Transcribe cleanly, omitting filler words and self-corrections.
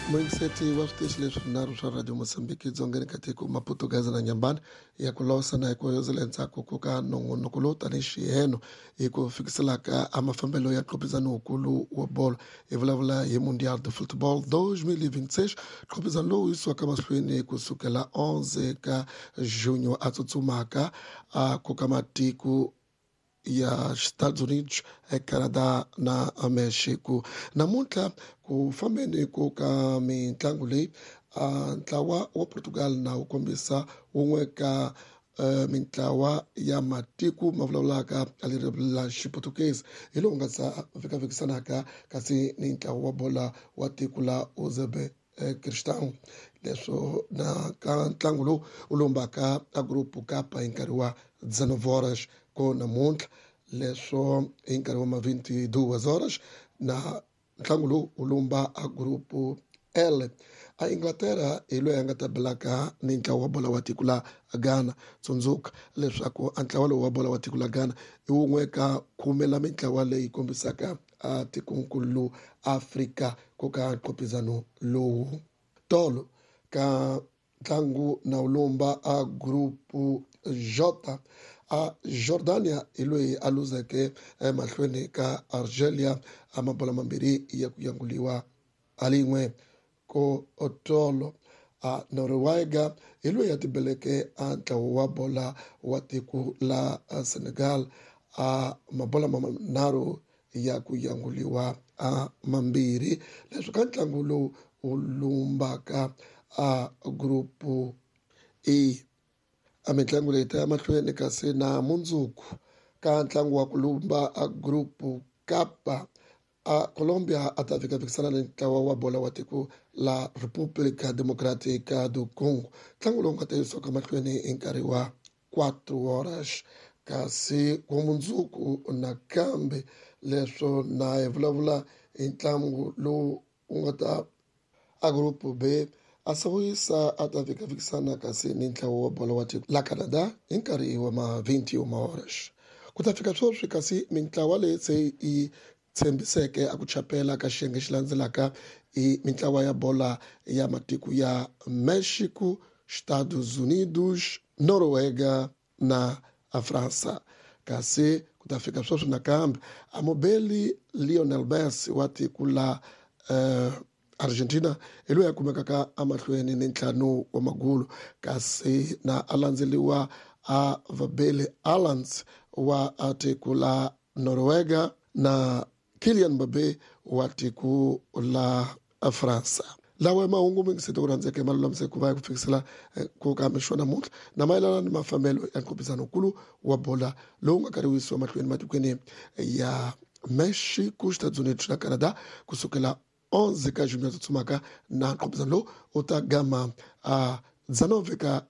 Muyingiseti wa switichi leswinharhu swa Radio Mozambique Dzongeni ka tiko Maputo, Gaza na Nyambani ya ku losa na hi ku hoyozela endzhaku ko ka nongonoko lowu tanihi xiheno hi ku fikiselaka a mafambelo ya nqopizano wukulu wa bolo. Hi vulavula hi Mundial de Football 2026, nqopizano lowu yisiwaka mahlweni kusukela 11 ka junho a tsutsumaka a koka matiko ya Estados Unidos, Canada na Mexico. Namuntlha ku fambeni ku ka mitlangu leyi, ntlawa wa Portugal na wu kombisa wun'we ka mintlawa ya matiko ma vulavulaka ririmi la Xiputukezi hi lowu nga sa vekavekisanaka kasi ni ntlawa wa bola wa tiko la Uzbekistan, leswo na ka ntlangu lowu wu lombaka a group kapa hi nkarhi wa 19 horas ko namuntlha, leswo hi nkarhi wa ma 22 horas na ntlangu lowu wu lumba a group L. A Inglaterra hi loyi a nga ta belaka ni ntlawa wa bola wa tiko la Ghana. Tsundzuka leswaku a ntlawa lowu wa bola wa tiko la Ghana i wun'we ka khume la mintlawa leyi kombisaka a tikonkulu Afrika ku ka nqopizano lowu. Tolo ka ntlangu na wu lumba a group J, a Jordania hi loyi a luzeke emahlweni ka Algeria a mabola mambirhi ya ku yanguliwa a lin'we. Ko otolo a Noruega hi loyi a tibeleke a ntlawa wa bola wa tiko la Senegal a mabola manharhu ya ku yanguliwa a mambirhi, leswi ka ntlangu lowu wu lumbaka a group E. A mitlangu leyi ta ya mahlweni kasi na mundzuku ka ntlangu wa ku lumba a group Kapa, a Colombia a ta fika-fikisana ni ntlawa wa bola wa tiko la República Democrática do Congo, ntlangu lowu nga ta yisiwaka mahlweni hi nkarhi wa 4 horas. Kasi ku mundzuku nakambe leswo na hi vulavula hi ntlangu lowu wu nga ta a group B, a Sawisa a ta fika-fikisana kasi ni ntlawa wa bolo wa tiko la Canada hi nkarhi wa ma 21 horas. Ku ta fika sweswi kasi mintlawa leyi se yi tshembiseke a ku chapela ka xiyenge xi landzelaka i mintlawa ya bola ya matiko ya Mexico, Estados Unidos, Noruega na Fransa. Kasi ku ta fika sweswi nakambe amubeli Lionel Messi wa tiko la Argentina hi loyi a kumekaka emahlweni ni ntlhanu wa magulu, kasi na a landzeliwa a vabeli Alans wa tiko la Noruega na Kylian Mbappe wa tiko la Fransa. Lawa mahungu mingiseti ku rhandzeke ma lulamiseke ku va ya ku fikisela ku ka mixo namuntlha na mayelana ni mafambelo ya nqopizano-nkulu wa bola lowu nga karhi wu yisiwa mahlweni matikweni ya Mexico, Estados Unidos na Canada kusukela 11 ka junho tsutsumaka, na nqopizano lowu u ta gama a 19 ka